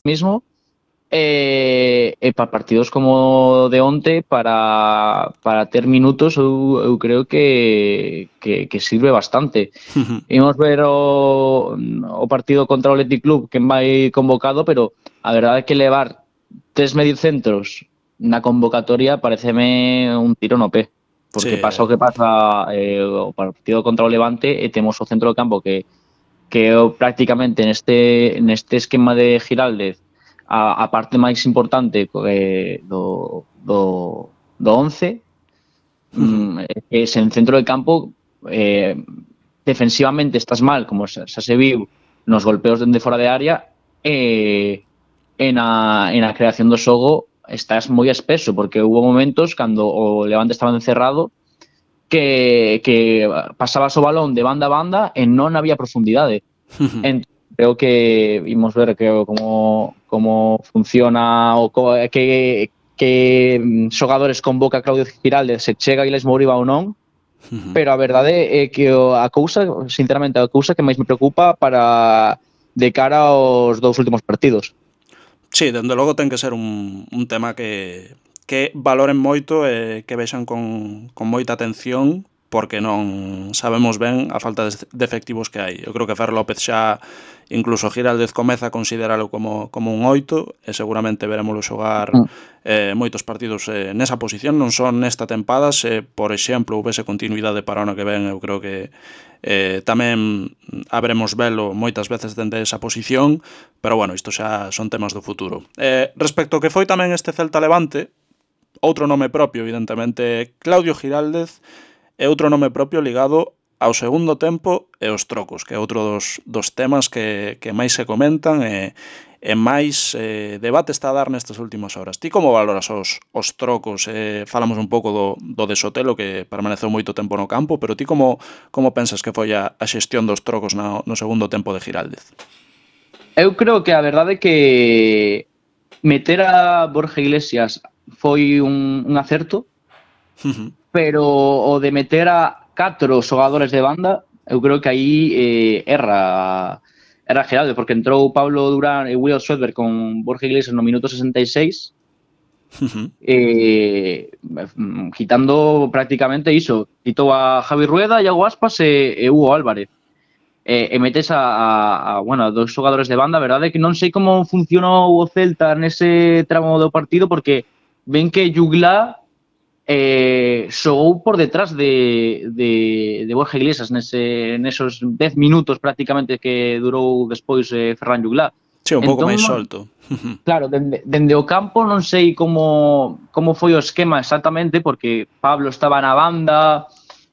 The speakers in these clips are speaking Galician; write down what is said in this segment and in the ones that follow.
mismo para partidos como de onte para ter minutos eu creo que sirve bastante. Imos ver o partido contra o Athletic Club que vai convocado, pero a verdade é que levar 3 mediocentros na convocatoria pareceme un tiro no pé, porque pasa o que pasa o partido contra o Levante e temos o centro do campo que prácticamente neste esquema de Giraldez a parte máis importante do 11 que sen centro de campo defensivamente estás mal, como xa se viu nos golpeos dende fora de área e na creación do xogo estás moi espeso, porque hubo momentos cando o Levante estaba encerrado que pasabas o balón de banda a banda e non había profundidade. Creo que imos ver como funciona o que xogadores convoca Claudio Giraldez, se chega Iles Mouriba ou non, pero a verdade é que a cousa, sinceramente, a cousa que máis me preocupa para de cara aos dous últimos partidos. Sí, dende logo ten que ser un tema que valoren moito e que vexan con moita atención, porque non sabemos ben a falta de efectivos que hai. Eu creo que Fer López xa, incluso Giraldez comeza a consideralo como un 8 e seguramente veremoslo xogar moitos partidos nesa posición, non son nesta tempada. Se, por exemplo, houvese continuidade para o ano que ven, eu creo que tamén haberemos velo moitas veces dende esa posición, pero bueno, isto xa son temas do futuro. Respecto ao que foi tamén este Celta Levante, outro nome propio, evidentemente, Claudio Giraldez, e outro nome propio ligado ao segundo tempo e aos trocos, que é outro dos temas que máis se comentan e máis debate está a dar nestas últimas horas. Ti como valoras os trocos? Falamos un pouco do de Sotelo, que permaneceu moito tempo no campo, pero ti como pensas que foi a xestión dos trocos no segundo tempo de Giraldez? Eu creo que a verdade é que meter a Borja Iglesias foi un acerto, pero o de meter a 4 xogadores de banda, eu creo que aí erra Giraldez, porque entrou Pablo Durán e Will Schwedberg con Borja Iglesias no minuto 66, quitando prácticamente iso, quitou a Javi Rueda, Iago Aspas e Hugo Álvarez. E metes a dos xogadores de banda. A verdade é que non sei como funcionou o Celta nese tramo do partido, porque ven que Jugla xogou por detrás de Borja Iglesias nesos 10 minutos prácticamente que durou despois Ferran Jugla. Sí, un pouco máis solto. Claro, dende o campo non sei como foi o esquema exactamente, porque Pablo estaba na banda,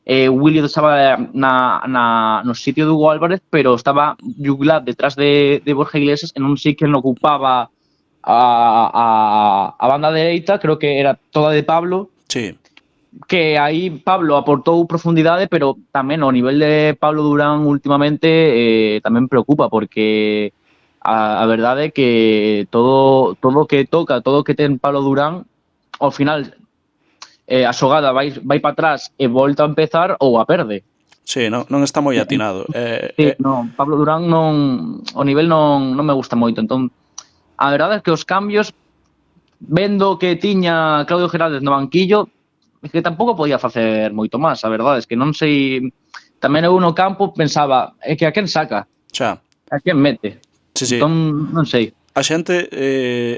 William estaba no sitio de Hugo Álvarez, pero estaba Jugla detrás de Borja Iglesias e non sei quen ocupaba a banda dereita, creo que era toda de Pablo. Sí. Que aí Pablo aportou profundidade, pero tamén o nivel de Pablo Durán últimamente tamén preocupa, porque a verdade é que todo o que toca, todo o que ten Pablo Durán, ao final a xogada vai para atrás e volta a empezar ou a perde. Sí, non está moi atinado. Sí, non, Pablo Durán o nivel non me gusta moito. Entón, a verdade é que os cambios, vendo que tiña Claudio Giraldez no banquillo, é que tampouco podía facer moito máis. A verdade é que non sei, tamén eu no campo pensaba, é que a quen saca? Xa. A quen mete? Sí. Entón, non sei. A xente,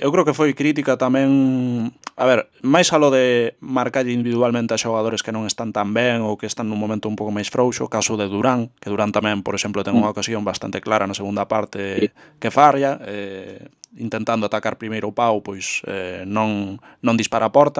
eu creo que foi crítica tamén, a ver, máis alo de marcalle individualmente a xogadores que non están tan ben ou que están nun momento un pouco máis frouxo, o caso de Durán, que Durán tamén, por exemplo, ten unha ocasión bastante clara na segunda parte que falla, intentando atacar primeiro o pau, pois non dispara a porta,